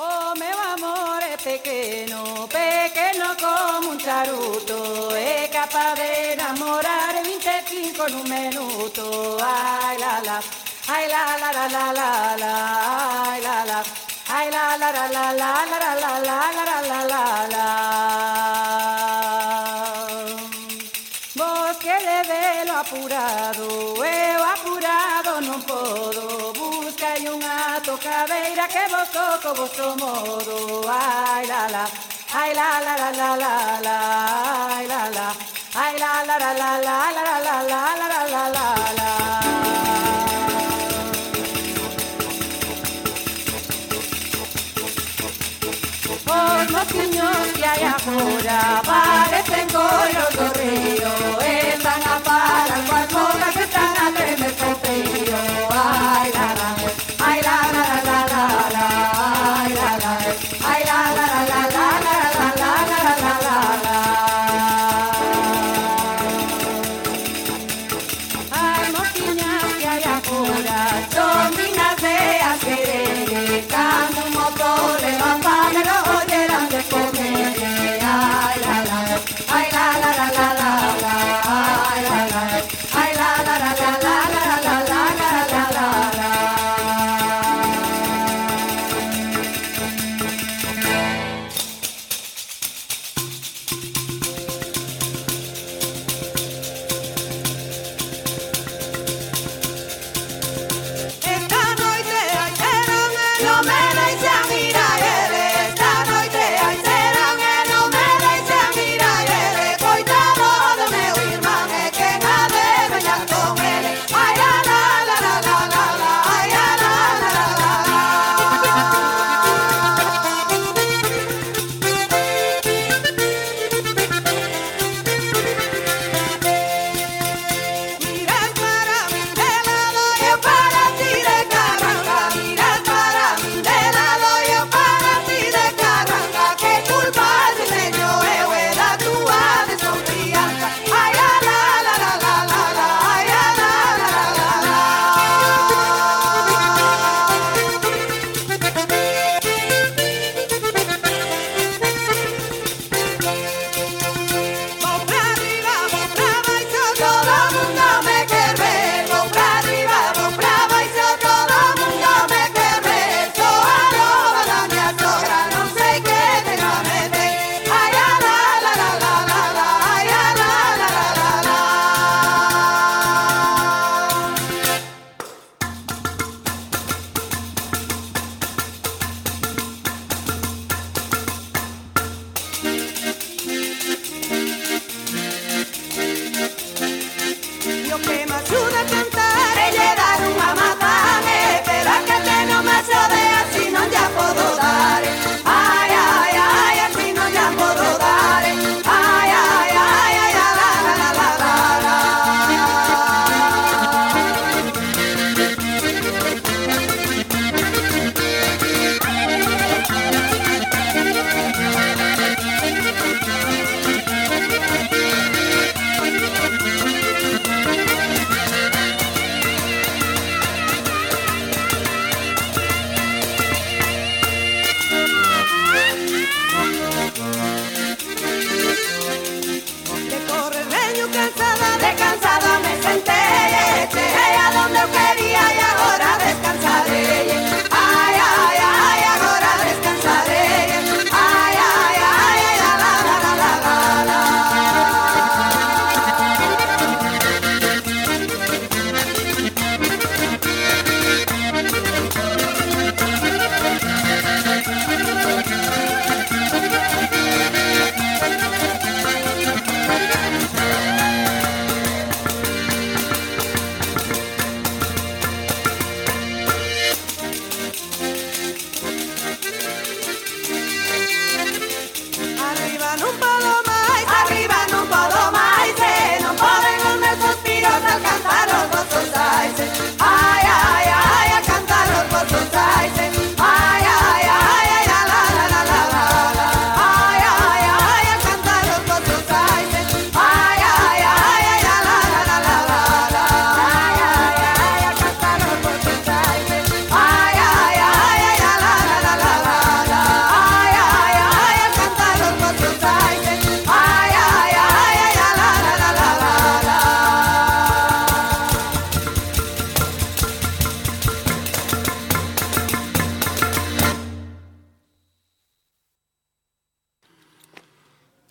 Oh, meu amor é pequeno, pequeno como un charuto. É capaz de enamorar 25 nun minuto. Ai, la, la, ai, la, la, la, la, la, la, ai, la, la, ai, la, la, la, la, la, la, la, la, la, la, la, la, la. Vos que de velo apurado, eu apurado non podo. Buscai unha tocadeira que vos toco vosso modo. Ai, la, la, ai, la, la, la, la, la, la, ai, la, la, ai, la, la, la, la, la, la, la, la, la, la, la, la, la. Os mociños que hai agora parecen coiros do río. Están a parar coas mocas que están a tremer co frío. Ai, la, la, ai, la, la, la, la, la, ai, la, la, ai, la, la, la, la, la, la, la, la, la, la, la, la. Ai, mociñas que hai agora son dignas de as querer. Cando un motor levantan e non olleran de comer. Ai, la, la, ai, la, la, la, la, la, la.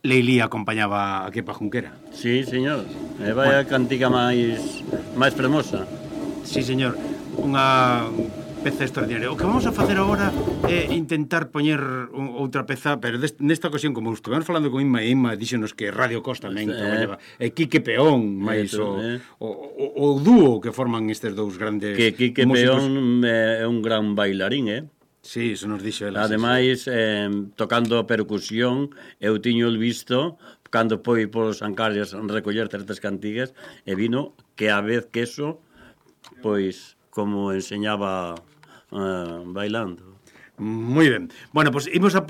Leilí acompañaba a Kepa Junquera. Sí, señor. E vai a cantiga máis fermosa. Sí, señor. Unha peza extraordinaria. O que vamos a facer agora é intentar poñer outra peza, pero nesta ocasión, como estuvemos falando con Inma, e Inma díxenos que Radio Cos tamén traballaba, e Quique Peón, máis o dúo que forman estes dous grandes músicos. Que Quique Peón é un gran bailarín, Sí, iso nos dixo ela. Ademais, tocando a percusión, eu tiño visto cando foi polos Ancarias recoller certas cantigas e vino que a vez que eso, pois, como enseñaba bailando. Moi ben. Bueno, pois imos a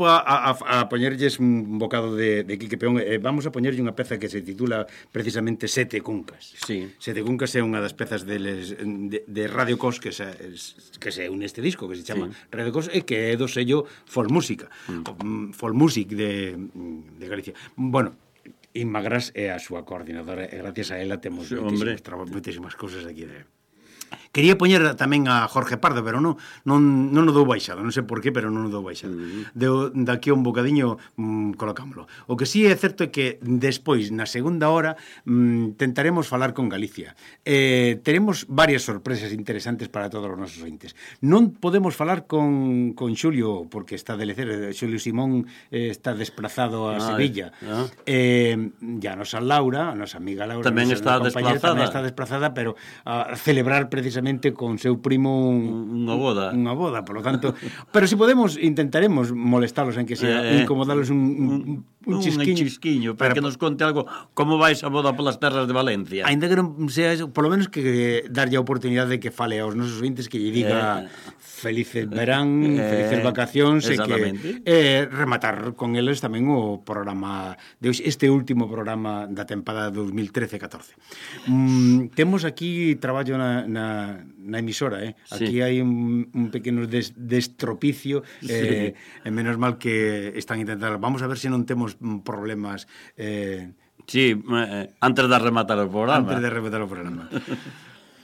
poñerlles un bocado de Quique Peón. Vamos a poñerlle unha peza que se titula precisamente Sete Cuncas. Sí. Sete Cuncas é unha das pezas de Radio Cos que se une este disco, que se chama Radio Cos, e que é do sello Folmúsica. Folmusic de Galicia. Bueno, Inma Gras é a súa coordinadora e gracias a ela temos moitísimas cousas aquí de... Quería poñer tamén a Jorge Pardo, pero non o dou baixado, non sei por qué, pero non o dou baixado. Daqui a un bocadiño colocámoslo. O que sí é certo é que despois, na segunda hora, tentaremos falar con Galicia. Teremos varias sorpresas interesantes para todos os nosos ointes. Non podemos falar con Xulio, porque está de lecer. Xulio Simón está desplazado a Sevilla. Ya a nosa Laura, a nosa amiga Laura, tamén está desplazada, pero a celebrar precisamente con seu primo unha boda, por lo tanto, pero se podemos intentaremos molestalos en que sea incomodalos un chisquiño para que nos conte algo como vai esa boda polas terras de Valencia. Ainda que non sea eso, por lo menos que darlle a oportunidade de que fale aos nosos ointes, que lle diga felices verán, felices vacacións, e que rematar con eles tamén o programa de hoxe, este último programa da tempada 2013-14. Temos aquí traballo na emisora, aquí hai un pequeno destropicio, e menos mal que están intentando. Vamos a ver se non temos problemas sí, antes de rematar o programa.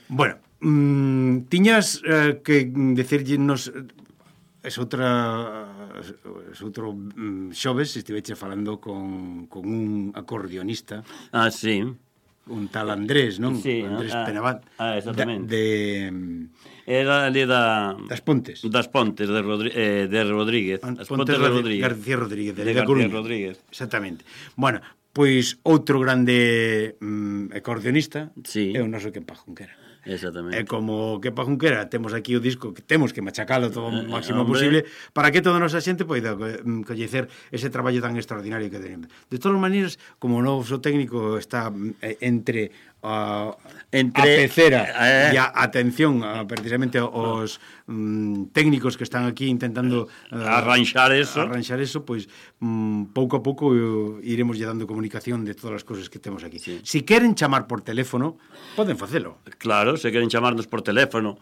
Bueno, tiñas que decirnos outro xoves estiveche falando con un acordeonista. Sí. Un tal Andrés, non? Sí, Andrés Penabad. Exactamente. Era ali das Pontes. Das Pontes de Rodríguez. As Pontes de Rodríguez. García Rodríguez, de García Rodríguez. Exactamente. Bueno, pois outro grande acordeonista é o noso Kepa Junquera. Exactamente. E como Kepa Junquera temos aquí o disco que temos que machacalo todo o máximo posible para que toda a nosa xente poida coñecer ese traballo tan extraordinario que tenemos. De todas maneiras, como o noso técnico está entre a pecera e a atención precisamente aos técnicos que están aquí intentando arranxar eso, pois pouco a pouco iremos lle dando comunicación de todas as cousas que temos aquí. Si queren chamar por teléfono, poden facelo. Claro, se queren chamarnos por teléfono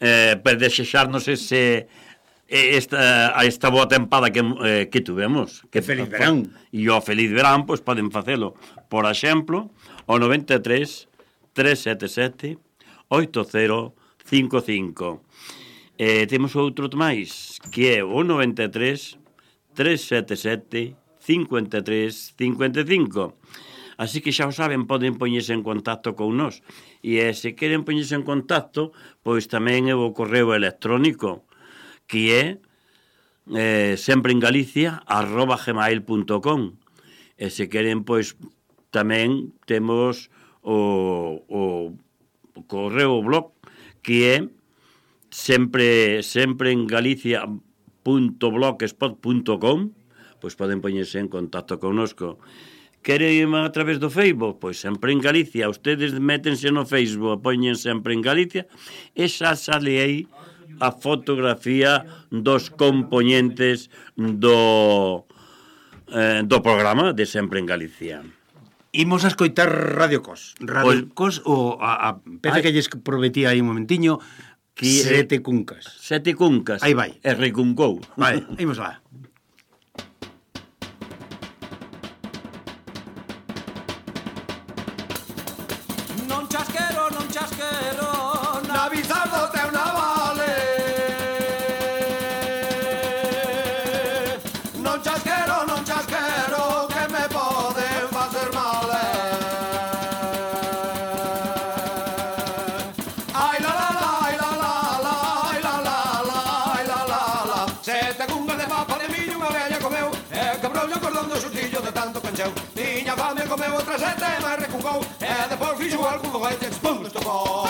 para desexarnos esta boa tempada que tuvemos, que feliz verán, e o feliz verán, pois poden facelo, por exemplo, o 93 377 8055. Temos outro máis, que é o 93 377 5355. Así que xa o saben, poden poñerse en contacto con nós. E se queren poñerse en contacto, pois tamén é o correo electrónico, que é sempreengalicia@gmail.com. E se queren, pois, tamén temos o correo blog, que é sempreengalicia.blogspot.com. Pois poden poñerse en contacto connosco. Queren a través do Facebook? Pois Sempre en Galicia. Ustedes métense no Facebook, poñen Sempre en Galicia, e xa sale aí a fotografía dos componentes do programa de Sempre en Galicia. Imos a escoitar Radio Cos. Radio Cos, o a peza que lles prometí aí un momentiño, Sete Cuncas. Sete Cuncas. Aí vai. E recuncou. Vale, imos lá. Non chasquero, na bizardo teu navale. Non chasquero, que me brollo cordón do sustillo de tanto cancheu. Tiña fame, comeu outra sete, mas recucou, e depois fixo algún foguete, pum, estopou.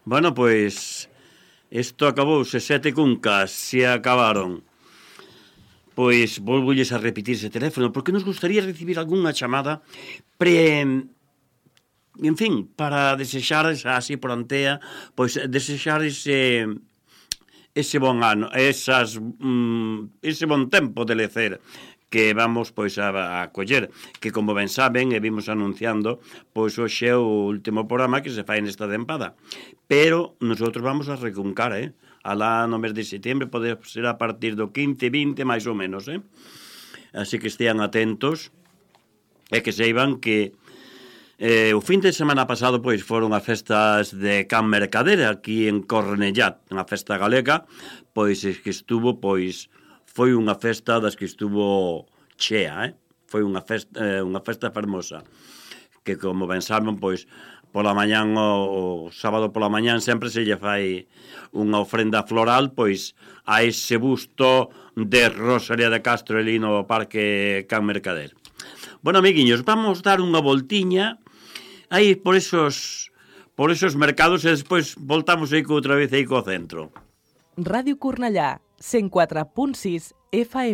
Bueno, pois isto acabouse, 7 cuncas se acabaron. Pois volvolles a repetir ese teléfono porque nos gustaría recibir algunha chamada en fin, para desexar así por antea, pois desexar ese bon ano, ese bon tempo de lecer que vamos pois a coller, que como ben saben e vimos anunciando, pois hoxe é o último programa que se fai nesta tempada. Pero nosotros vamos a recuncar, alá no mes de setembro, pode ser a partir do 15, 20, máis ou menos, Así que estean atentos e que seiban que o fin de semana pasado pois foron as festas de Can Mercader aquí en Cornellá, unha festa galega, pois que estuvo, pois foi unha festa das que estuvo chea, foi unha festa fermosa, que como ben saben, pois pola mañán, o sábado pola mañán sempre se lle fai unha ofrenda floral, pois a ese busto de Rosalía de Castro ali no Parque Can Mercader. Bueno, amiguiños, vamos dar unha voltiña aí por esos mercados e despois voltamos aí outra vez aí co centro. Ràdio Cornellà, 104.6 FM.